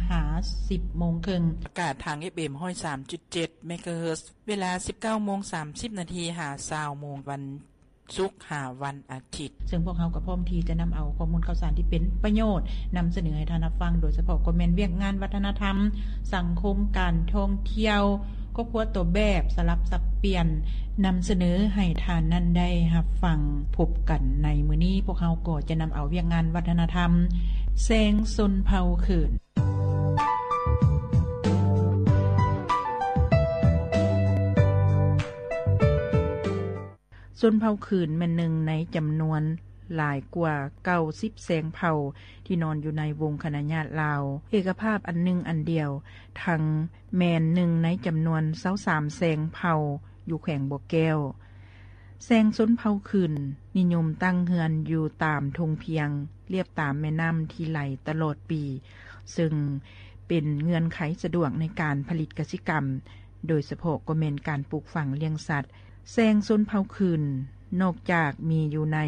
ຫາສິບໂມງເຄິ່ງ. ອາກາດທາງ ເອັຟເອັມ ຮ້ອຍສາມຈຸດເຈັດ ເມກາເຮີດ ເວລາ ສິບເກົ້າໂມງສາມສິບນາທີ ຫາ ຊາວໂມງ ວັນສຸກ ຫາ ວັນອາທິດ. ເຊິ່ງພວກເຮົາກໍພ້ອມທີ່ຈະນຳເອົາຂໍ້ມູນຂ່າວສານທີ່ເປັນປະໂຫຍດ ນຳສະເໜີໃຫ້ທ່ານຮັບຟັງ, ໂດຍສະເພາະກໍແມ່ນວຽກງານວັດທະນະທຳ, ສັງຄົມ, ການທ່ອງທ່ຽວ, ຄອບຄົວຕົວແບບ, ສະຫຼັບສັບປ່ຽນ ນຳສະເໜີໃຫ້ທ່ານນັ້ນໄດ້ຮັບຟັງ. ພົບກັນໃນມື້ນີ້, ພວກເຮົາກໍຈະນຳເອົາວຽກງານວັດທະນະທຳ ແຊງຊົນເຜົ່າຄືນ. ຊົນເຜົ່າຄືນແມ່ນໜຶ່ງໃນຈຳນວນຫຼາຍກວ່າເກົ້າສິບແຊງເຜົ່າທີ່ນອນຢູ່ໃນວົງຄະນະຍາດລາວເອກະພາບອັນໜຶ່ງອັນດຽວ, ທັງແມ່ນໜຶ່ງໃນຈຳນວນຊາວສາມແຊງເຜົ່າຢູ່ແຂວງບໍ່ແກ້ວ. ແຊງຊົນເຜົ່າຄືນນິຍົມຕັ້ງເຮືອນຢູ່ຕາມທົ່ງພຽງ ລຽບຕາມແມ່ນ້ຳທີ່ໄຫຼຕະຫຼອດປີ, ເຊິ່ງເປັນເງື່ອນໄຂສະດວກໃນການຜະລິດກະສິກຳ, ໂດຍສະເພາະກໍແມ່ນການປູກຝັງລ້ຽງສັດ. ແຊງຊົນເຜົ່າຄືນ ນອກຈາກມີຢູ່ໃນ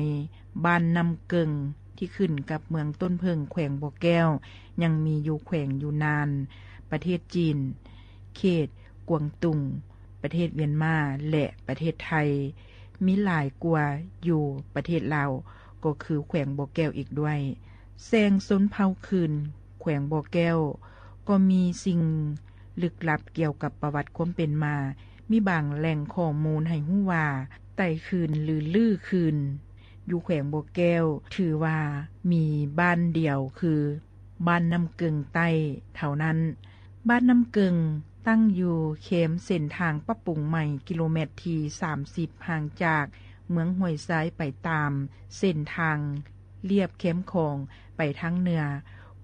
ບ້ານນ້ຳເກິ່ງ ທີ່ຂຶ້ນກັບເມືອງຕົ້ນເຜິ້ງ ແຂວງບໍ່ແກ້ວ, ຍັງມີຢູ່ແຂວງຢູນານ, ປະເທດຈີນ, ເຂດກວາງຕຸງ, ປະເທດວຽນມາ ແລະ ປະເທດໄທ, ມີຫຼາຍກວ່າຢູ່ປະເທດລາວ ກໍຄືແຂວງບໍ່ແກ້ວອີກດ້ວຍ. ແຊງຊົນເຜົ່າຄືນ ແຂວງບໍ່ແກ້ວ ກໍມີສິ່ງລຶກລັບກ່ຽວກັບປະຫວັດຄວາມເປັນມາ. ມີບາງແຫຼ່ງຂໍ້ມູນໃຫ້ຮູ້ວ່າ ໄຕຄືນ ຫຼື ລືຄືນ ຢູ່ແຂວງບໍ່ແກ້ວ ຖືວ່າມີບ້ານດຽວ ຄື ບ້ານນ້ຳເກິ່ງໃຕ້ເທົ່ານັ້ນ. ບ້ານນ້ຳເກິ່ງຕັ້ງຢູ່ແຄມເສັ້ນທາງປັບປຸງໃໝ່ ກິໂລແມັດທີສາມສິບ ຫ່າງຈາກເມືອງຫ້ວຍຊາຍໄປຕາມເສັ້ນທາງລຽບແຄມຂອງໄປທາງເໜືອ,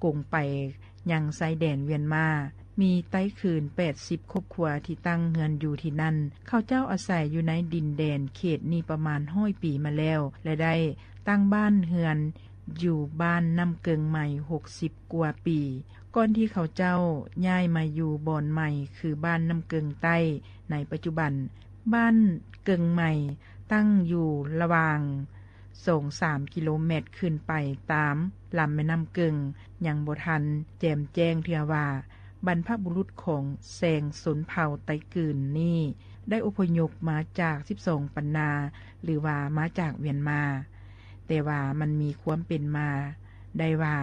ກົງໄປຍັງຊາຍແດນວຽນມາ. ມີໄຕຄືນແປດສິບຄອບຄົວທີ່ຕັ້ງເຮືອນຢູ່ທີ່ນັ້ນ. ເຂົາເຈົ້າອາໄສຢູ່ໃນດິນແດນເຂດນີ້ປະມານຮ້ອຍປີມາແລ້ວ ແລະ ໄດ້ຕັ້ງບ້ານເຮືອນ ຢູ່ບ້ານນ້ຳເກິ່ງໃໝ່ຫົກສິບກວ່າປີ ກ່ອນທີ່ເຂົາເຈົ້າຍ້າຍມາຢູ່ບ່ອນໃໝ່ ຄື ບ້ານນ້ຳເກິ່ງໃຕ້ໃນປັດຈຸບັນ. ບ້ານເກິ່ງໃໝ່ຕັ້ງຢູ່ລະຫວ່າງສອງສາມກິໂລແມັດຂຶ້ນໄປຕາມລຳແມ່ນ້ຳເກິ່ງ, ຍັງບໍ່ທັນແຈ່ມແຈ້ງເທື່ອວ່າ ບັນພະບຸລຸດຂອງແຊງຊົນເຜົ່າໄຕຄືນນີ້ ໄດ້ອົບພະຍົບມາຈາກສິບສອງປັນນາ ຫຼືວ່າມາຈາກວຽນມາ. ແຕ່ວ່າມັນມີຄວາມເປັນມາໄດ້ວ່າ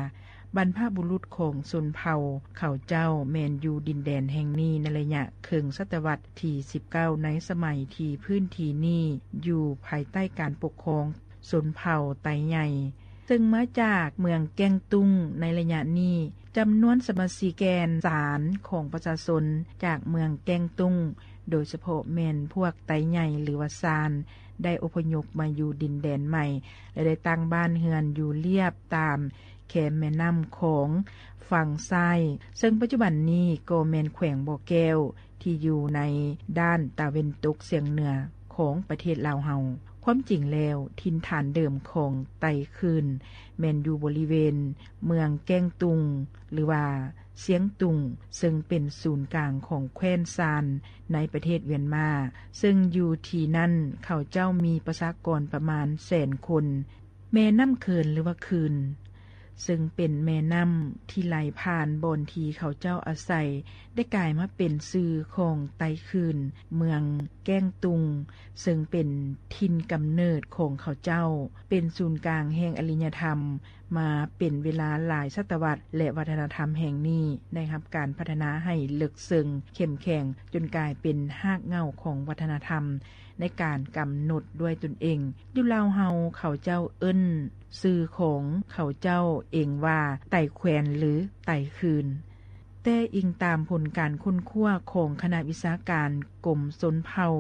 ບັນພະບຸລຸດຂອງຊົນເຜົ່າເຂົາເຈົ້າແມ່ນຢູ່ດິນແດນແຫ່ງນີ້ໃນໄລຍະເຄິ່ງສະຕະວັດທີສິບເກົ້າ ໃນສະໄໝທີ່ພື້ນທີ່ນີ້ຢູ່ພາຍໃຕ້ການປົກຄອງ ຊົນເຜົ່າໄຕໃຫຍ່ ເຊິ່ງມາຈາກເມືອງແກ້ງຕຸ້ງໃນໄລຍະນີ້. ຈຳນວນສະມາຊິກແກ່ນສານຂອງປະຊາຊົນຈາກເມືອງແກ້ງຕຸ້ງ ໂດຍສະເພາະແມ່ນພວກໄຕໃຫຍ່ ຫຼືວ່າຊານ ໄດ້ອົບພະຍົບມາຢູ່ດິນແດນໃໝ່ ແລະ ໄດ້ຕັ້ງບ້ານເຮືອນຢູ່ລຽບຕາມແຄມແມ່ນ້ຳຂອງຝັ່ງຊ້າຍ ເຊິ່ງປັດຈຸບັນນີ້ກໍແມ່ນແຂວງບໍ່ແກ້ວ ທີ່ຢູ່ໃນດ້ານຕາເວັນຕົກສຽງເໜືອຂອງປະເທດລາວເຮົາ. ຄວາມຈິງແລ້ວ ຖິ່ນຖານເດີມຂອງໄຕຄືນ ແມ່ນຢູ່ບໍລິເວນເມືອງແກ້ງຕຸງ ຫຼືວ່າຊຽງຕຸງ ເຊິ່ງເປັນສູນກາງຂອງແຄວ້ນຊານໃນປະເທດວຽນມາ, ເຊິ່ງຢູ່ທີ່ນັ້ນເຂົາເຈົ້າມີປະຊາກອນປະມານແສນຄົນ. ແມ່ນ້ຳເຂີນ ຫຼືວ່າ ຄືນ ເຊິ່ງເປັນແມ່ນ້ຳທີ່ໄຫຼຜ່ານບ່ອນທີ່ເຂົາເຈົ້າອາໄສ ໄດ້ກາຍມາເປັນຊື່ຂອງໄຕຄືນ ເມືອງແກ້ງຕຸງ ເຊິ່ງເປັນຖິ່ນກຳເນີດຂອງເຂົາເຈົ້າ, ເປັນສູນກາງແຫ່ງອາລິຍະທຳມາເປັນເວລາຫຼາຍສະຕະວັດ ແລະ ວັດທະນະທຳແຫ່ງນີ້ໄດ້ຮັບການພັດທະນາໃຫ້ເລິກເຊິ່ງເຂັ້ມແຂງ ຈົນກາຍເປັນຮາກເຫງົ້າຂອງວັດທະນະທຳ ໃນການກຳນົດດ້ວຍຕົນເອງ. ຢູ່ລາວເຮົາເຂົາເຈົ້າເອີ້ນຊື່ຂອງເຂົາເຈົ້າເອງວ່າ ໄຕແຄວ້ນ ຫຼື ໄຕຄືນ. ແຕ່ອີງຕາມຜົນການຄົ້ນຄວ້າຂອງຄະນະວິຊາການກົມຊົນເຜົ່າ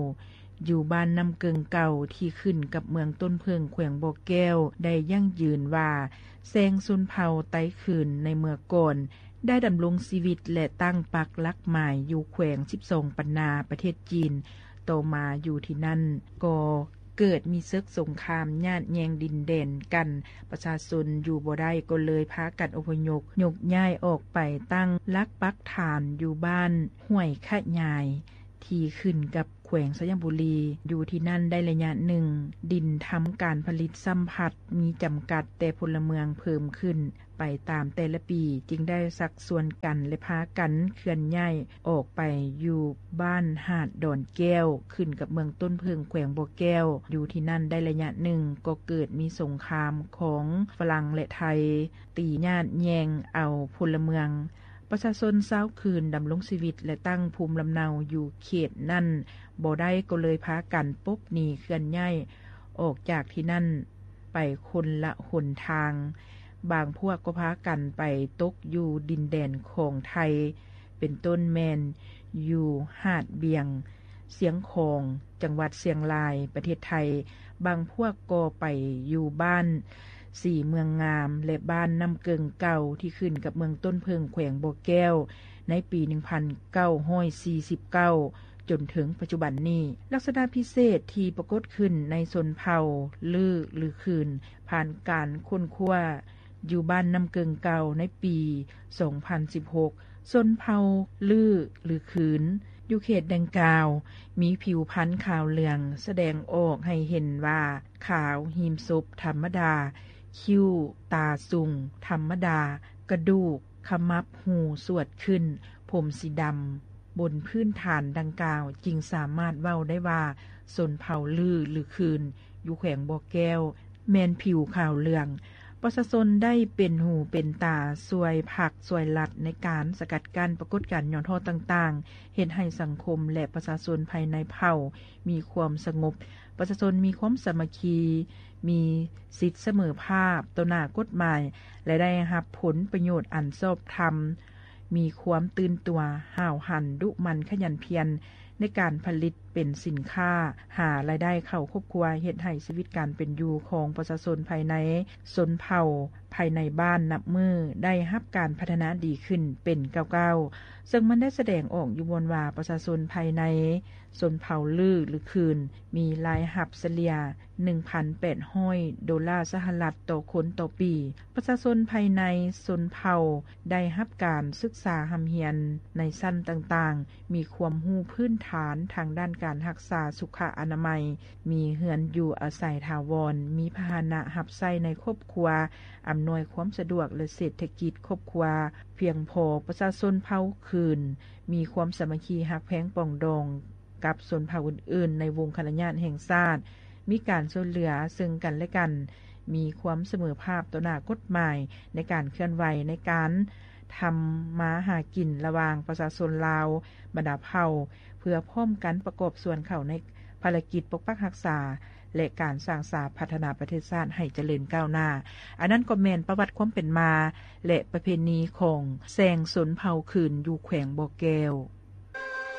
ຢູ່ບ້ານນ້ຳເກິ່ງເກົ່າ ທີ່ຂຶ້ນກັບເມືອງຕົ້ນເຜິ້ງ ແຂວງບໍ່ແກ້ວ ໄດ້ຢັ້ງຢືນວ່າ ແຊງຊົນເຜົ່າໄຕຄືນໃນເມື່ອກ່ອນ ໄດ້ດຳລົງຊີວິດ ແລະ ຕັ້ງປັກຫຼັກໝາຍຢູ່ແຂວງສິບສອງປັນນາ ປະເທດຈີນ. ຕໍ່ມາຢູ່ທີ່ນັ້ນກໍເກີດມີເສິກສົງຄາມຍາດແຍ່ງດິນແດນກັນ, ປະຊາຊົນຢູ່ບໍ່ໄດ້ກໍເລີຍພາກັນອົບພະຍົບຍົກຍ້າຍອອກໄປຕັ້ງຫຼັກປັກຖານຢູ່ບ້ານຫ້ວຍຂະຫຍາຍ ທີ່ຂຶ້ນກັບແຂວງໄຊຍະບູລີ. ຢູ່ທີ່ນັ້ນໄດ້ໄລຍະໜຶ່ງ, ດິນທຳການຜະລິດຊ້ຳພັດມີຈຳກັດ, ແຕ່ພົນລະເມືອງເພີ່ມຂຶ້ນ ໄປຕາມແຕ່ລະປີ ຈຶ່ງໄດ້ຊັກຊວນກັນ ແລະ ພາກັນເຄື່ອນຍ້າຍອອກໄປຢູ່ບ້ານຫາດດອນແກ້ວ ຂຶ້ນກັບເມືອງຕົ້ນເຜິ້ງ ແຂວງບໍ່ແກ້ວ. ຢູ່ທີ່ນັ້ນໄດ້ໄລຍະໜຶ່ງ ກໍເກີດມີສົງຄາມຂອງຝຣັ່ງ ແລະ ໄທ ຕີຍາດແຍ່ງເອົາພົນລະເມືອງ. ປະຊາຊົນຊາວຂືນດຳລົງຊີວິດ ແລະ ຕັ້ງພູມລຳເນົາຢູ່ເຂດນັ້ນບໍ່ໄດ້ ກໍເລີຍພາກັນປົບໜີເຄື່ອນຍ້າຍອອກຈາກທີ່ນັ້ນໄປຄົນລະຫົນທາງ. ບາງພວກກໍພາກັນໄປຕົກຢູ່ດິນແດນຂອງໄທ ເປັນຕົ້ນແມ່ນຢູ່ຫາດບຽງ, ຊຽງຂອງ, ຈັງຫວັດຊຽງລາຍ ປະເທດໄທ. ບາງພວກກໍໄປຢູ່ບ້ານສີເມືອງງາມ ແລະ ບ້ານນ້ຳເກິ່ງເກົ່າ ທີ່ຂຶ້ນກັບເມືອງຕົ້ນເຜິ້ງ ແຂວງບໍ່ແກ້ວ ໃນປີໜຶ່ງພັນເກົ້າຮ້ອຍສີ່ສິບເກົ້າ ຈົນເຖິງປັດຈຸບັນນີ້. ລັກສະນະພິເສດທີ່ປາກົດຂຶ້ນໃນຊົນເຜົ່າລື້ ຫຼື ຂືນ ຜ່ານການຄົ້ນຄວ້າຢູ່ບ້ານນ້ຳເກິ່ງເກົ່າໃນປີສອງພັນສິບຫົກ ຊົນເຜົ່າລື້ ຫຼື ຂືນ ຢູ່ເຂດດັ່ງກ່າວ ມີຜິວພັນຂາວເຫຼືອງ ສະແດງອອກໃຫ້ເຫັນວ່າຂາວ, ຮີມສົບທຳມະດາ, ຄິ້ວ, ຕາສູງທຳມະດາ, ກະດູກ, ຂະໝັບ, ຫູສວດຂຶ້ນ, ຜົມສີດຳ, ບົນພື້ນຖານດັ່ງກ່າວ ຈຶ່ງສາມາດເວົ້າໄດ້ວ່າ ຊົນເຜົ່າລື້ ຫຼື ຂືນ ຢູ່ແຂວງບໍ່ແກ້ວ ແມ່ນຜິວຂາວເຫຼືອງ. ປະຊາຊົນໄດ້ເປັນຫູເປັນຕາຊ່ວຍພັກຊ່ວຍລັດ ໃນການສະກັດກັ້ນປາກົດການຫຍໍ້ທໍ້ຕ່າງໆ ເຮັດໃຫ້ສັງຄົມ ແລະ ປະຊາຊົນພາຍໃນເຜົ່າມີຄວາມສະຫງົບ, ປະຊາຊົນມີຄວາມສາມັກຄີ, ມີສິດສະເໝີພາບຕໍ່ໜ້າກົດໝາຍ ແລະ ໄດ້ຮັບຜົນປະໂຫຍດອັນຊອບທຳ, ມີຄວາມຕື່ນຕົວ, ຫ້າວຫັນ, ດຸໝັ່ນ, ຂະຫຍັນພຽນ ໃນການຜະລິດເປັນສິນຄ້າ, ຫາລາຍໄດ້ເຂົ້າຄອບຄົວ, ເຮັດໃຫ້ຊີວິດການເປັນຢູ່ຂອງປະຊາຊົນພາຍໃນຊົນເຜົ່າພາຍໃນບ້ານນັບມື້ໄດ້ຮັບການພັດທະນາດີຂຶ້ນເປັນກ້າວໆ, ເຊິ່ງມັນໄດ້ສະແດງອອກຢູ່ບ່ອນວ່າປະຊາຊົນພາຍໃນຊົນເຜົ່າລື້ ຫຼື ຂືນ ມີລາຍຮັບສະເລ່ຍໜຶ່ງພັນແປດຮ້ອຍໂດລາສະຫະລັດຕໍ່ຄົນຕໍ່ປີ. ປະຊາຊົນພາຍໃນຊົນເຜົ່າໄດ້ຮັບການສຶກສາຮ່ຳຮຽນໃນຊັ້ນຕ່າງໆ, ມີຄວາມຮູ້ພື້ນຖານທາງດ້ານການຮັກສາສຸຂະອະນາໄມ, ມີເຮືອນຢູ່ອາໄສຖາວອນ, ມີພາຫະນະຮັບໃຊ້ໃນຄອບຄົວ, ອຳນວຍຄວາມສະດວກ ແລະ ເສດຖະກິດຄອບຄົວພຽງພໍ. ປະຊາຊົນເຜົ່າຂືນ ມີຄວາມສາມັກຄີຮັກແພງປອງດອງກັບຊົນເຜົ່າອື່ນໆໃນວົງຄະນະຍາດແຫ່ງຊາດ, ມີການຊ່ວຍເຫຼືອເຊິ່ງກັນແລະກັນ, ມີຄວາມສະເໝີພາບຕໍ່ໜ້າກົດໝາຍໃນການເຄື່ອນໄຫວໃນການທຳມາຫາກິນລະຫວ່າງປະຊາຊົນລາວ. ບັນດາເຜົ່າ ເພື່ອພ້ອມກັນປະກອບສ່ວນເຂົ້າໃນພາລະກິດປົກປັກຮັກສາ ແລະ ການສ້າງສາພັດທະນາປະເທດຊາດໃຫ້ຈະເລີນກ້າວໜ້າ. ອັນນັ້ນກໍແມ່ນປະຫວັດຄວາມເປັນມາ ແລະ ປະເພນີຂອງແຊງຊົນເຜົ່າຂືນຢູ່ແຂວງບໍ່ແກ້ວ.